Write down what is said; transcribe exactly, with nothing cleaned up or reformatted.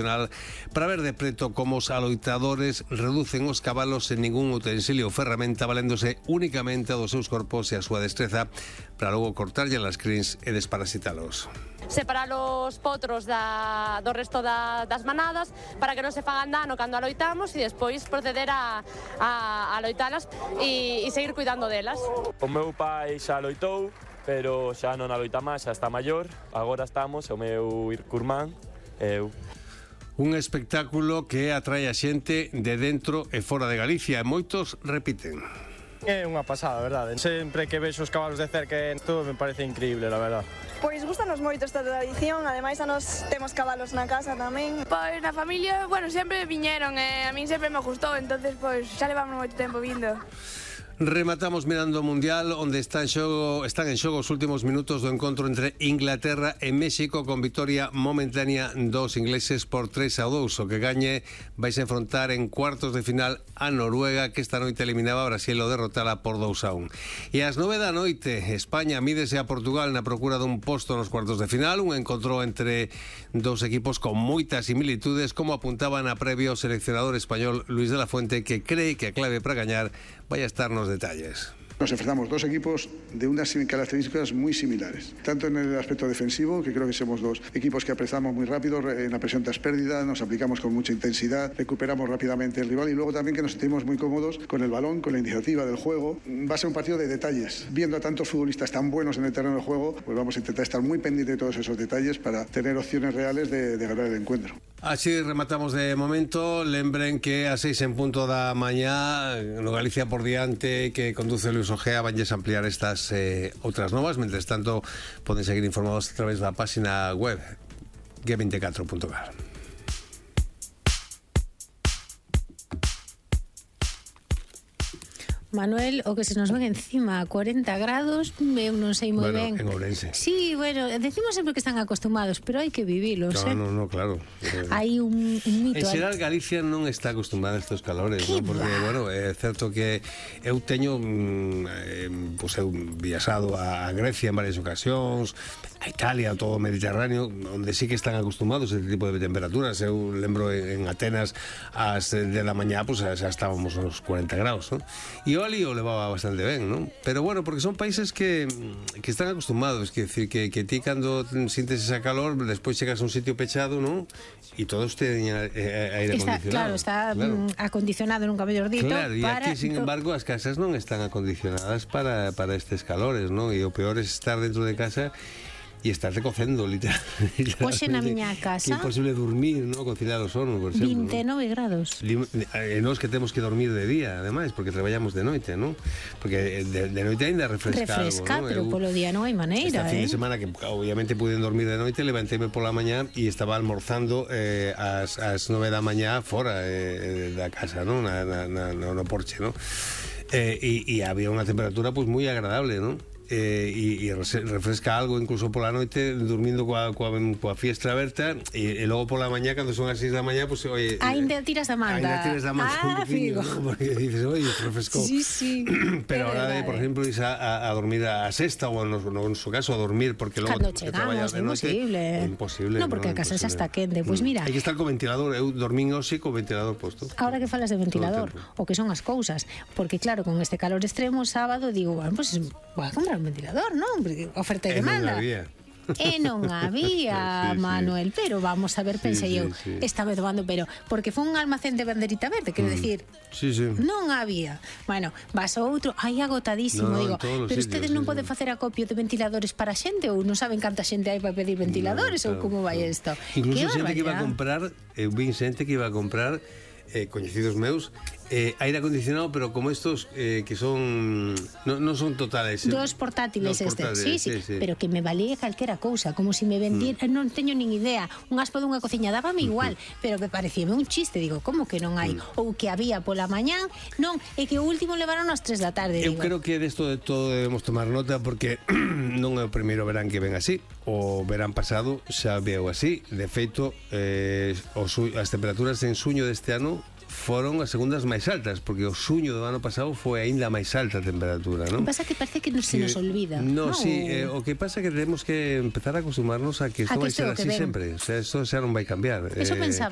para ver de preto como os aloitadores reducen os cabalos sen ningún utensilio ou ferramenta, valéndose únicamente dos seus corpos e a súa destreza para logo cortarlle as crins e desparasitalos. Separar os potros da, do resto da, das manadas para que non se fagan dano cando aloitamos e despois proceder a, a, a aloitalas e, e seguir cuidando delas. O meu pai xa aloitou, pero xa non aloita máis, xa está maior. Agora estamos, o meu curmán e eu. Un espectáculo que atrae a xente de dentro e fora de Galicia e moitos repiten. É unha pasada, verdade. Sempre que vexo os cabalos de cerca, todo me parece increíble, la verdad. Pois gustanos moito esta tradición, ademais a nos temos cabalos na casa tamén. Pois na familia, bueno, sempre viñeron e a min sempre me gustou, entonces pois xa levamos moito tempo vindo. Rematamos mirando o Mundial, onde está en xogo, están en xogo os últimos minutos do encontro entre Inglaterra e México, con vitoria momentánea dos ingleses por tres a dous. O que gañe vais a enfrontar en cuartos de final a Noruega, que esta noite eliminaba a Brasil o derrotala por dous a un. E ás nove da noite, España mídese a Portugal na procura dun posto nos cuartos de final, un encontro entre dos equipos con moitas similitudes, como apuntaba na previa o seleccionador español Luis de la Fuente, que cree que a clave para gañar vai a estar nos detalles. Nos enfrentamos dos equipos de unas características muy similares, tanto en el aspecto defensivo, que creo que somos dos equipos que apresamos muy rápido en la presión tras pérdida, nos aplicamos con mucha intensidad, recuperamos rápidamente el rival y luego también que nos sentimos muy cómodos con el balón, con la iniciativa del juego. Va a ser un partido de detalles. Viendo a tantos futbolistas tan buenos en el terreno de juego, pues vamos a intentar estar muy pendientes de todos esos detalles para tener opciones reales de, de ganar el encuentro. Así rematamos de momento. Lembren que a seis en punto da mañá no Galicia por diante, que conduce Luis Ojea, vanlles ampliar estas eh, outras novas. Mentres tanto, poden seguir informados a través da página web G veinticuatro punto gal. Manuel, o que se nos ven encima a cuarenta grados, eu non sei moi bueno, ben. En Ourense. Sí, bueno, decimos sempre que están acostumados, pero hai que vivilos, no, eh? No, no, claro. Hai un, un mito. En xeral, Galicia non está acostumada a estes calores, ¿no? Porque, va? bueno, é certo que eu teño, eh, pues eu viaxado a Grecia en varias ocasións, a Italia, todo o Mediterráneo, onde sí que están acostumados a este tipo de temperaturas. Eu lembro en Atenas, ás de la mañá, pues xa estábamos aos cuarenta graus, ¿no? E o ali o levaba bastante ben, ¿no? Pero bueno, porque son países que, que están acostumados, que decir, que, que ti cando sintes esa calor, despois chegas a un sitio pechado, ¿no? E todos teñen aire está, acondicionado. Claro, está claro. acondicionado, nunca mellor dito. Claro, e para... aquí, sin embargo, as casas non están acondicionadas para, para estes calores, ¿no? E o peor é estar dentro de casa e estar recocendo, literalmente. Hoxe na miña casa... Que é imposible dormir, ¿no? Conciliar o sono, por exemplo. vinte e nove ¿no? grados. E nós que temos que dormir de día, ademais, porque traballamos de noite, ¿no? Porque de, de noite ainda refresca, refresca algo, ¿no? pero Eu, polo día non hai maneira, esta fin eh? de semana, que obviamente puiden dormir de noite, levantéme pola mañá e estaba almorzando eh, ás, ás nove da mañá fora eh, da casa, ¿no? Na, na, na, no porche, ¿no? Eh, e, e había unha temperatura pues moi agradable, ¿no? Eh, e, e refresca algo incluso pola noite dormindo coa, coa, coa fiestra aberta e, e logo pola mañá cando son as seis da mañá pues, oye, ainda tiras da manta ainda tiras da manta ah, un poquinho, ¿no? Porque dices, oye, refrescou sí, sí. pero ahora de, por ejemplo, ir a, a dormir a sexta ou no, no, en su caso a dormir porque logo cando chegamos, é imposible é imposible no, porque no, a casa xa está quente, pois pues mira hai que estar co ventilador, eu dormín hoxe co ventilador posto. Ahora que falas de ventilador o que son as cousas, porque claro, con este calor extremo sábado digo, bueno, pues voy a comprar un ventilador, non? Oferta e demanda. Non había. E non había, sí, Manuel, sí. Pero vamos a ver, pensei sí, eu, sí, sí. Estaba tomando, pero porque foi un almacén de banderita verde, quero mm. decir, sí, sí. Non había. Bueno, vas ao outro, aí agotadísimo, no, digo, pero sitios, ustedes sí, non sí. poden facer acopio de ventiladores para a xente ou non saben canta xente hai para pedir ventiladores no, claro, ou como vai isto? Incluso xente que iba a comprar, eu vi xente que iba a comprar eh, coñecidos meus, eh, aire acondicionado, pero como estos eh, que son non no son totales, eh, dos portátiles dos estes, portátiles, sí, sí, sí, sí, pero que me valía calquera cousa, como si me vendían, mm. non teño nin idea, un aspo dunha cociña dábame igual, mm. pero me parecíame un chiste, digo, como que non hai, mm. ou que había pola mañán, non, e que o último levaron ás tres da tarde, eu digo. creo que desto de todo debemos tomar nota porque non é o primeiro verán que ven así, o verán pasado xa veo así, de feito eh, os, as temperaturas en suño deste ano foron as segundas máis altas, porque o suño do ano pasado foi aínda máis alta a temperatura, non? O que pasa que parece que se nos olvida. No, ¿no? sí, eh, o que pasa é que temos que empezar a acostumarnos a que isto vai ser así sempre, o sea, isto xa non vai cambiar. Eso eh, pensaba